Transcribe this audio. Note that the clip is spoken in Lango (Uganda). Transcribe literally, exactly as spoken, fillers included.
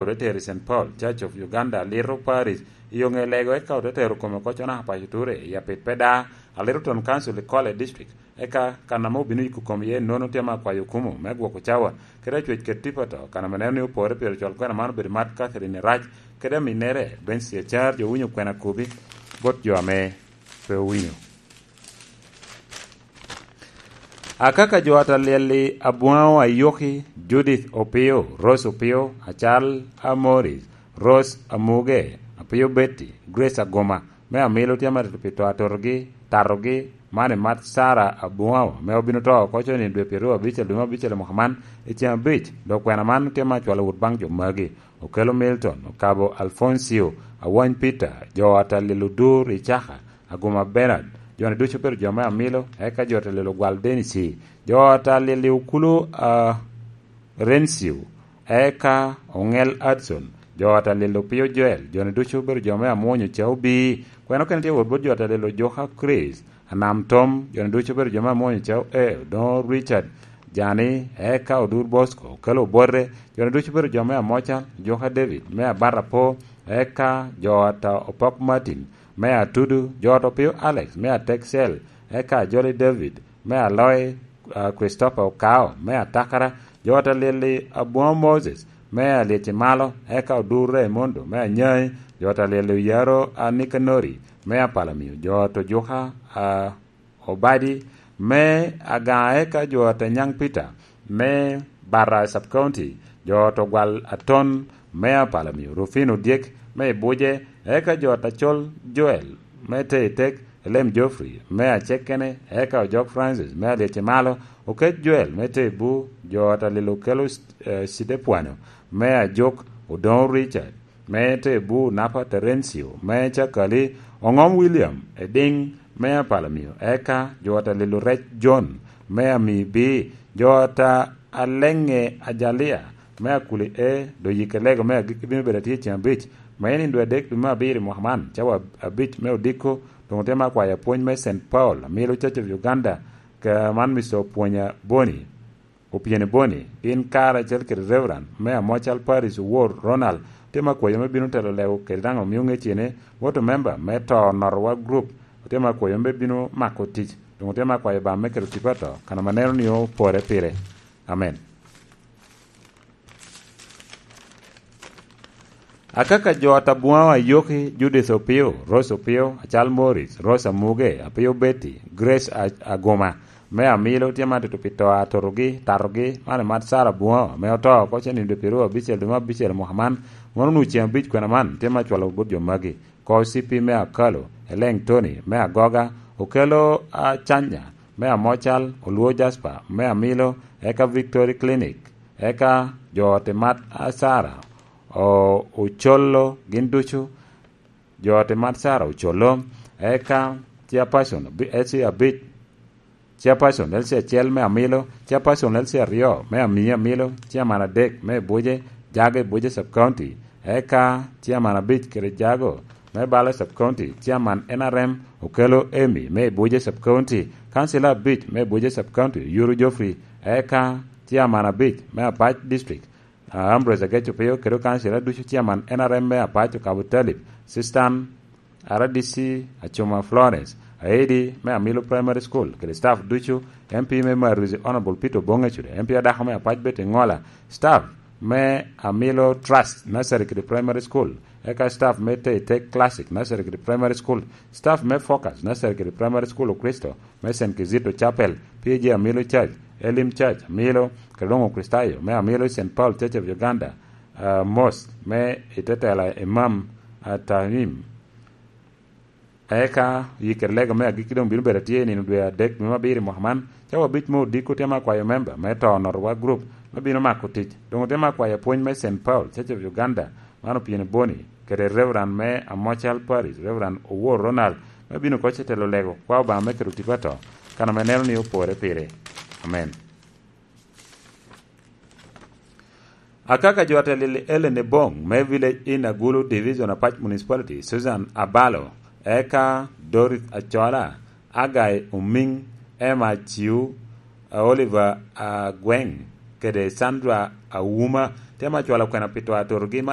Ote tero i Saint Paul, Church of Uganda, Little Parish, i Oŋelego, eka ote tero kome oko Conah Apac Oture i Apit Peda, a Little Town Council i Kole District. Eka kan ame obino yiko kom iye nono tye me akwayo okumu me gwoko cawa, kede acwec kede tipo to, kan ame neno ni opore pire cwal kwena man obedo mat Catherine Rac, kede aminnere Bensi Acar, jo winyo kwena kubi bot jo ame pe owinyo. Akaka jo a Talyel-li, Abwaŋo Ayoki, Judith Opio, Rose Opio, Acal Amoris, Rose Amuge, Apio Betty, Grace Aguma, me Amilo tye amatito pi to atotogi, tatogi, man i mat Sara Abwaŋo, me obino to oko coni dwe pyeraryo abicel dwe me abicel i mwaka man, i ceŋ abic, dok kwena man tye me acwalo wot baŋ jo magi. Okelo Milton, Okabo Alfoncio, Awany Peter, jo a Talyel Odur i Caka, Aguma Bernard, jo-ni ducu obedo jo me Amilo, eka jo a Talyel Ogwal Denisi, jo a Talyel Okulu, a, Rencio, eka Oŋel Hudson, jo a Talyel Opio Joel, jo-ni ducu obedo jo me Amwonyo Caubi, kwena okene tye wot bot jo a Talyel Ojoka Chris, Anam Tom, jo-ni ducu obedo jo me Amwonyo Cau, e, Odoŋo Richard, Jani, eka Odur Bosco, Okelo Obote, jo-ni ducu obedo jo me Amoca, Ojoka David, me Abata Po, eka jo a ta Opok Martin, me Atudu, jo a ta Opio Alex, me Ateksel, eka Jolly David, me Aloy, a, Christopher Okao, me Atakara, jo a Talyel-li Abwaŋo Moses, me Alyeci Malo, eka Odur Raimondo, me Anyai, jo a Talyel-li Oyaro, a, Nikanori, me Apalamio, jo a ta Ojuka, a, Obadi, me Agaŋa, eka jo a ta Nyaŋ Peter, me Bata Sub County, jo a ta Ogwal Aton, me Apalamio, Rufino Dyek, me Ibuje, eka jo a ta Col Joel, me Teitek, Elem Geoffrey, me Acekene, eka Ojok Francis, me Alyeci Malo, Okec Joel, me Tebu, jo a Talyel Okelo, eh, Cidepwano, me Ajuk, Odoŋo Richard, me Tebu, Napa Terencio, me Cakali, Oŋom William, Ediŋ, me Apalamio, eka jo a Talyel Orec John, me Amibi, jo a ta Aleŋe Ajalia, me Akuli E, Doyike Lego me Agikki bino bedo atye i ceŋ abic, me nindo adek dwe me abiro i mwaka man, cawa abic me odiko, doŋ otemo akwayo apwony me Saint Paul, Amilo Church of Uganda, ka man Mister Opwonya Boni, Opyeni Boni, gin kare acel kede Reverend me Amocal Parish Owor Ronald, otemo akwayo me bino telo lego kede daŋ omio ŋecene, woto member me to Onotowa Group, otemo akwayo me bino mako tic, doŋ otemo akwayo Obaŋa me keto tipo ato, kan ame neno ni opore pire. Amen. Akaka jo a ta Bwaŋo Ayoki, Judith Opio, Rose Opio, Acal Morris, Rose Amuge, Apio Betty, Grace A-, Aguma, me Amilo tye ma tutu pi to atotogi, tatogi, man i mat Sara Bwaŋo, ame oto oko cen i dwe pyeraryo abicel dwe me abicel mwaka man, mono onwoŋo ceŋ abic kwena man tye ma cwalo bot jo magi. Ko C P me Akalo, Eleŋ Tony, me Agoga, Okelo Acanya, me Amocal, Olwo Jasper, me Amilo, eka Victory Clinic, eka jo ot i mat Sara, o-, Ocolo, gin ducu, jo ot i mat Sara Ocolo, eka chairperson, bi-, L C abic, chairperson, L C acel me Amilo, chairperson, L C aryo me Ami Amilo, chairman adek me Ibuje, Jago Ibuje Sub County, eka chairman abic kede Jago me Bale Sub County, chairman N R M Okelo Emi me Ibuje Sub County, councilor abic me Ibuje Sub County, Yuru Geoffrey, eka chairman abic me Apac District, ah, Ambrose Ageco Pio, kede okancila ducu, chairman N R M me Apac Okabo Talib, Sistan R D C Acuma Florence, Aidi me Amilo Primary School, kede staff ducu, M P me Maruzi Honorable Peter Obonge Cude, M P adako me Apac Betty Ngola, staff me Amilo Trust Nursery kede Primary School, eka staff me Teitek Classic Nursery kede Primary School, staff me Focus Nursery kede Primary School Okristo, me Saint Kizito Chapel, P A G Amilo Church, Elim Church, Amilo, kede doŋ Okristayo me Amilo, Saint Paul Church of Uganda, ah, Mosque, me i te tela Imam, ah, Tahim. Eka yikke lego me agikki doŋ bino bedo atye i nino dwe adek dwe me abiro i mwaka man, cawa abic me odiko tye me akwayo memba me to Onotowa Group me bino mako tic. Doŋ otye me akwayo apwony me Saint Paul Church of Uganda, man Opyeni Boni, kede Reverend me Amocal Parish, Reverend Owor Ronald, me bino koc i telo lego kwa Obaŋa me keto tipo ato, kan ame neno ni opore pire. Amen. Akaka jo atel i Ellen Ebong me Village in Agulu Division Apac Municipality, Susan Abalo, eka Dorith Acola, Agai Omiŋ, Emma Aciu, Oliver Agweng, kede Sandra Auma, temo acwalo kwena pi twatorogi man.